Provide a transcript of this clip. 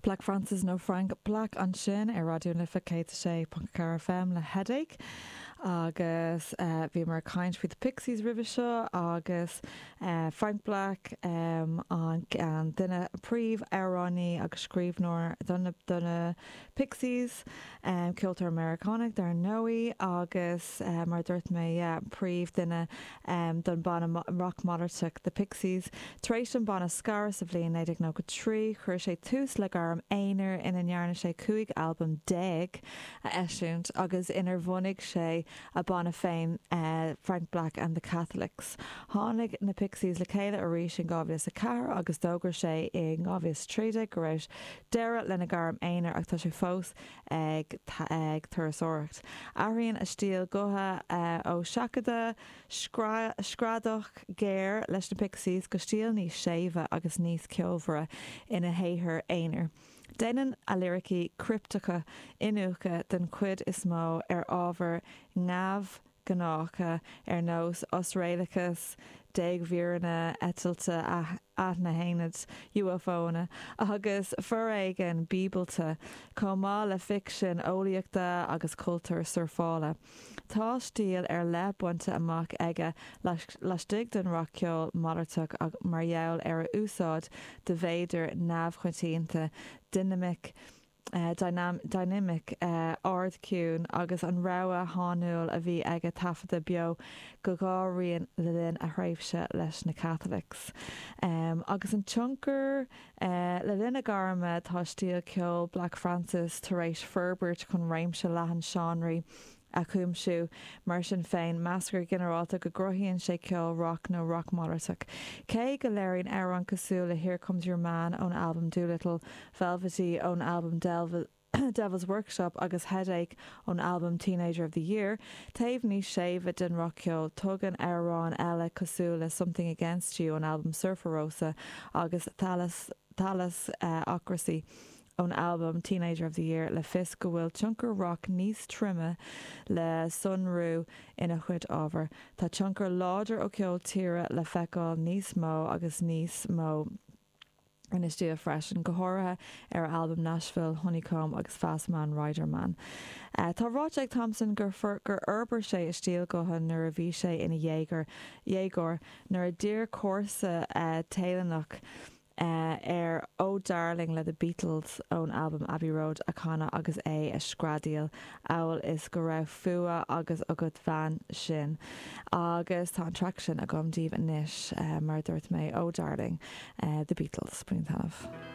Black Francis nó Frank Black ansin ar Raidió na Life 106.4 FM le Headache agus bhíomar ag caint faoi The Pixies roimhe seo agus Frank Black an duine príomh-amhránaí agus scríbhneoir do na Pixies, ceoltóir Meiriceánach dar ndóigh agus mar a dúirt mé yeah príomh-duine don banna rock malartach The Pixies. Tar éis don banna scaradh sa bhliain 1993, chuir sé tús le gairm aonair ina ndearna sé 15 albam a eisiúint agus inar bhunaigh sé a banna féin Frank Black and the Catholics. Tháinig na Pixies le chéile arís in 2004 agus d'fhógair sé in 2013 go raibh deireadh lena ghairm aonair ach tá sé fós ag ag turasóireacht. Athraíonn a stíl gutha ó sheachadadh screadach géar leis na Pixies go stíl níos séimhe agus níos ceolmhaire ina shaothar aonair. Déanann a liricí cripteacha iniúchadh den chuid is mó ar ábhair neamhghnácha ar nós osréalachas, dégmhíreanna eitilte anaithnid, UFOanna, agus foréigean bíobalta, chomh maith le ficsean eolaíochta agus cultúr surfála. Tá stíl ar leith bainte amach aige laistigh den rac-cheol malartach mar gheall ar a úsáid de mhéadair neamhchoitianta, dinimic dynamic ard ciúin agus an rogha shainiúil a bhí aige taifeadadh beo go dhá rian le linn a thréimhse leis na Catholics. Agus an tionchar Le linn a gairme tá stíl ceoil Black Francis tar éis forbairt chun réimse leathan seánraí a chuimsiú. Mar sin féin, meastar go ginearálta go gcruthaíonn sé ceol roc nó roc malartach. Cé go léiríonn amhráin cosúil le Here Comes Your Man ón albam Doolittle, Velvety ón albam Devil's Workshop agus Headache ón albam Teenager of the Year, taobh níos séimhe den rac-cheol, tugann amhráin eile cosúil le Something Against You ón albam Surfer Rosa agus Thalassocracy ón albam Teenager of the Year le fios go bhfuil tionchar roc níos troime le sonrú ina chuid ábhair. Tá tionchar láidir ó cheol tíre le feiceáil níos mó agus níos mó ina stíl freisin, go háirithe ar a albaim Nashville, Honeycomb agus Fast Man Rider Man. Tá ráite ag Thompson gur fhorbair sé a stíl gutha nuair a bhí sé ina dhéagóir, nuair a d'iarr comharsa Téalannach air Oh Darling le The Beatles ón albam Abbey Road a chanadh agus é a screadaíl amhail is go raibh fuath agus agat bhean sin. Agus tá an traic sin agam daoibh anois, mar a dúirt mé, Oh Darling, The Beatles. Bain taitneamh.